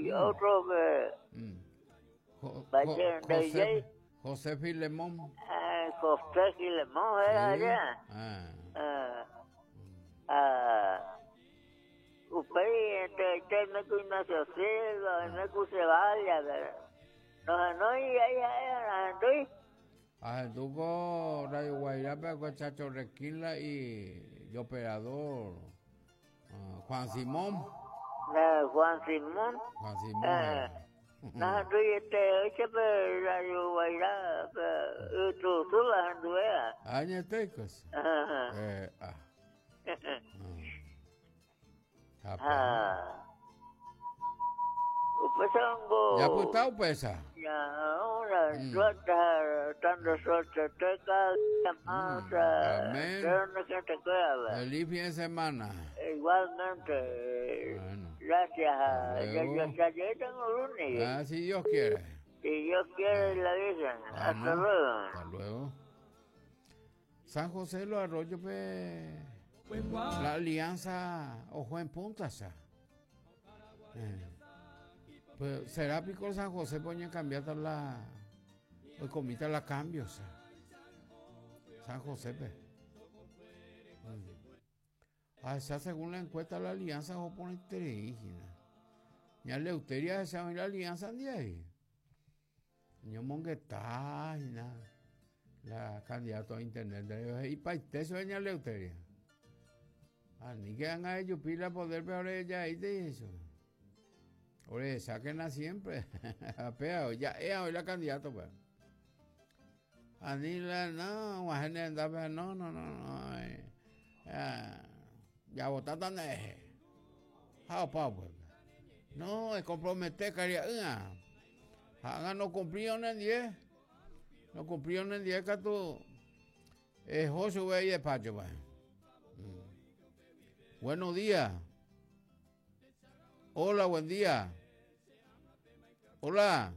Y otro que... José, José Filemón. José Filemón era allá. Ah. Upéi entraite oime ku Ignacio Silva, oime ku Ceballos, nohenói ahí ha'e nahendúi. Ahendu ko Radio Guairápe akue Chacho Requila y operador Juan Simón. Juan Simón. Juan Simón. Eh, nahendúi este oiche pe Radio Guairá pe ytusu ahenduvéva. Añetéiko. Eh, ah. Ha. Upéichango. Japyta upéicha. Ya, una suerte, tanto suerte, teca, masa, Amén. Pero Feliz fin de semana. Igualmente. Bueno. Gracias. Ya, ya, ya, tengo lunes. Ah, si Dios quiere. Si Dios quiere, la Virgen. Hasta luego. Hasta luego. San José de los Arroyos pe la Alianza oho en punta cha. Eh. Pues, será pico San José pe oñecambiáta la oikomíta la cambio cha. San José pe. Mm. Ahecha según la encuesta la Alianza oho porãiterei hína. Ña Leuteria ahecha oĩ la Alianza ndive. Ñomongeta hína la candidato a intendente he'ipaite chupe ña Leuteria. Aníke ág̃a ejupi la poder-pe orejaíte he'i chupe. Orehechákena siempre. Ha péva ja'éva oĩ la candidato-pe. Ani la no, og̃uahẽ ne rendápe no, no, no, no, javotáta nde rehe. Ha opa upépe. No, ekompromete karia'ýrã. Ha ág̃a nokumplíva nendive, nokumplíva nendive katu eho chupe idespáchope. Buenos días. Hola, buen día. Hola.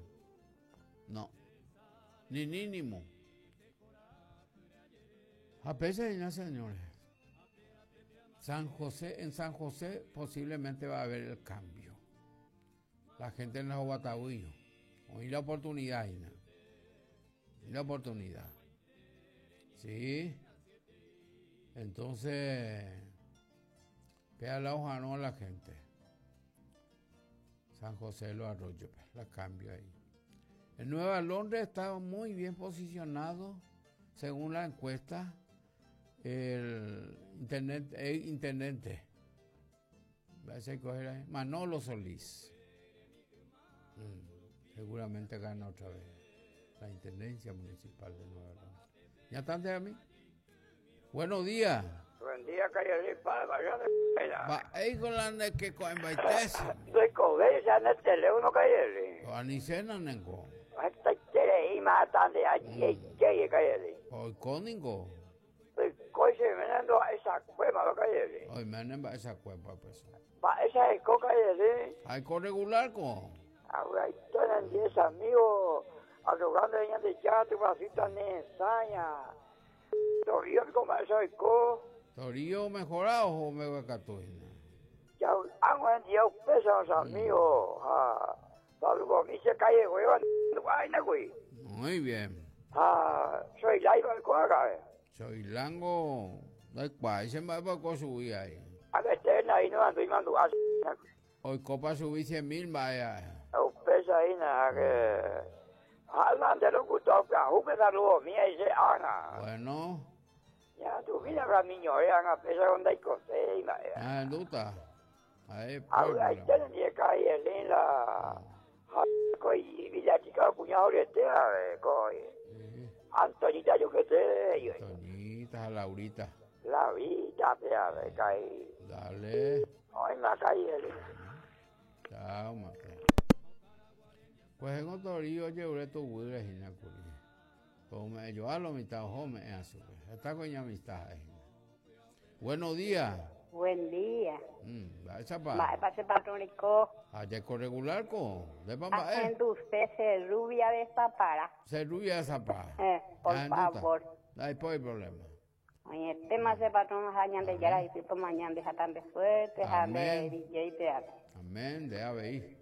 No. Ni ni ni mu. Ha péicha hína, señores. San José, en San José posiblemente va a haber el cambio. La gente en la Oguataguio. Oĩ la oportunidad hína. Oĩ la oportunidad. Sí. Entonces, péa la oharõ la gente. San José de los Arroyos, la cambio ahí. En Nueva Londres está muy bien posicionado, según la encuesta, el intendente, el intendente. Manolo Solís. Mm, seguramente gana otra vez la intendencia municipal de Nueva Londres. ¿Ya están de a mí? Buenos días. Buen día, calle Palma, yo de Mba'éiko la nde ke ko'ẽmbaitese. Ndoikovéi che ne teléfono calle. Anicéna nengo. Hetaitereíma hata nde ajeijéi calle. Oiko ningo. Oiko che ména ndoha'echakuémava calle. Oiméne mba'echakuépa pues. Mba'éicha heko calle. Aiko regular ko. Avy'aite nendie che amigo arrogando Ñandejára Tupãsy tane'esãia. Torío piko mba'éicha oiko. Torío omehora oho mbeguekatu hína. Javy'ág̃ua hendive upéicharõ che amigo ha saludomi che calleguéva ndu'áina kuri. Muy bien. Ha Choiláipa oiko akãve. Choilángo ndaikuaái che mba'épa oiko chugui ai. Akãite nai noandúi mandu'a che. Oikópa chugui cien mil mba'e ae. Upéicha hína ha che ha nde locutor pyahúpe saludomi ai che ág̃a. Bueno. Ñaandumína Ramiñoe ág̃a péicha ko ndaikoséi mba'e. Ñahendúta. Ha'e Avy'aite nendive karai Elin la ha ko Villa Chica okuña horyete ave ko Antoñita jukete he'i. Antoñita ha Laurita. Laurita pe ave karai. Dale. Oĩma karai Elin. Chao mate. Kuehe Torí ojerure tuguýre hína kuri. Ko ome'ẽ joa lo mitã oho ome'ẽva chupe. Heta ko iñamista ha'e hína. Buenos días. Buen día. Mm, mba'éichapa? Mba'épa che patrón reiko? Ha jaiko regular ko. Ndépa mba'e? Ahenduse che rubia de zapara. Che rubia de zapara. Eh, por favor. Ndaipóri problema. Oĩetéma che patrón ha Ñandejára ypy tomaña nde ha tande suerte ha nde DJ-pe ave. Amén, nde avei.